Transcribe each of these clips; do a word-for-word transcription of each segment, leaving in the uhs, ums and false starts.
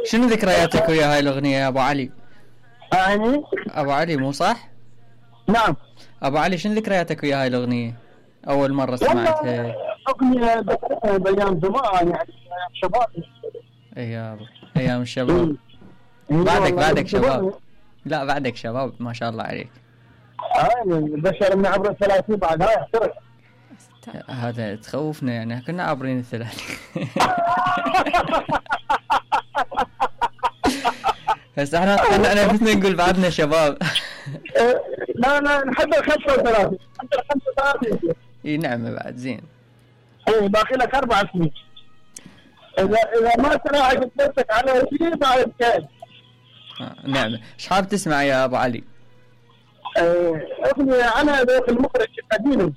شنو ذكرياتك ويا هاي الاغنيه يا ابو علي؟ يعني ابو علي مو صح؟ نعم. ابو علي شنو ذكرياتك ويا هاي الاغنيه؟ اول مره سمعتها؟ اغنيه بايام زمان يعني ايام شباب. ايام ايام الشباب. بعدك بعدك شباب. لا بعدك شباب ما شاء الله عليك. هاي البشر من عبر الثلاثين بعد هاي احترق. هذا تخوفنا يعني كنا عابرين الثلاثين. بس احنا احنا نفسنا نقول بعدنا شباب. لا لا نحب ال خمسة وثلاثين نحب ال خمسة وثلاثين. اي نعم بعد زين. اي باقي لك اربع سنين. اذا اذا ما تراعي نفسك على شيء بعد كان. آه نعم. ايش حاب تسمع يا ابو علي؟ اغنية على ذوق المخرج قديمة.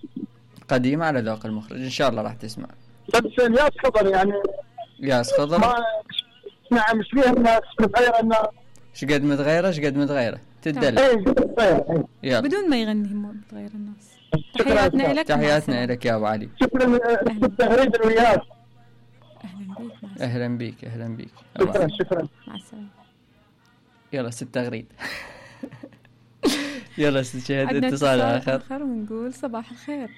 قديمة على ذوق المخرج ان شاء الله راح تسمع. بس الياس خضر يعني. ياس خضر. ما نعم مش فيها الناس متغيرة الناس. ايش قد متغيرة ايش قد متغيرة تدل. اي متغيرة. يلا. بدون ما يغني متغير الناس. تحياتنا لك. تحياتنا لك يا ابو علي. شكرا للتغريد الوياس. اهلا اهلا بيك بيك. اهلا بيك. شكرا شكرا. مع السلامة. يلا ست تغريد. يلا ست شهد اتصال اخر. اخر ونقول صباح الخير.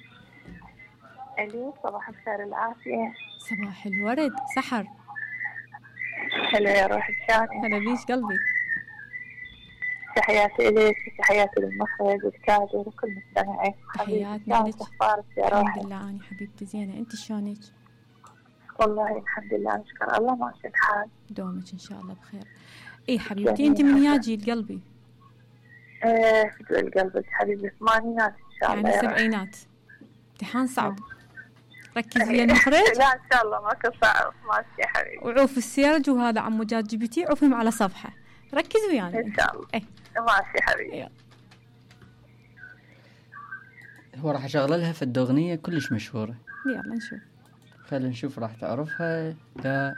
الو صباح الخير العافية. صباح الورد سحر. هلا يا روح الشاني. هلا بيش قلبي. تحياتي إليك تحياتي للمخرج والكادر وكل مستمعي. تحياتنا لك. اخبارك يا روحي؟ الحمد لله أنا حبيبتي زينة. انت شلونك؟ والله الحمد لله نشكر الله ماشي الحال. دومك ان شاء الله بخير. اي حبيبتي انت من يا جيل قلبي؟ ايه جيل قلبك حبيبي ثمانينات ان شاء الله. يعني سبعينات. امتحان صعب. ركز ويا المخرج. لا ان شاء الله ماكو صعب ماشي يا حبيبي. وعوف السيرج وهذا عمو جات جي بي تي عوفهم على صفحه. ركز ويانا ان شاء الله. ايه ماشي حبيبي. يلا. هو راح اشغل لها في الدغنيه كلش مشهوره. يلا نشوف. خلينا نشوف راح تعرفها لا